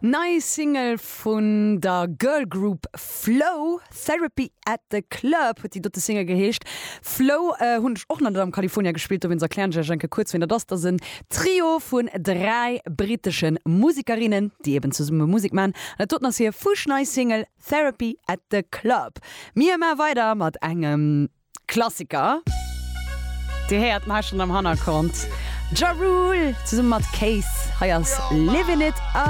Nei Single vun der Girl Group Flow, Therapy at the Club huet déi dote Single geheescht. Flow hunn ech och nach net am California gespillt, dowéinst erklären ech iech eng Kéier kuerz wien dat ass. Dat ass en Trio vun 3 brittesche Musekerinnen, déi eben zesumme Musek man. An dat doten ass hir fuschnei Single Therapy at the Club. Mir maa weider mat engem Klassiker. Dir héiert en hei schonn am Hannergrond, Ja Rule zesumme mat Case. Hei ass Livin' It Up.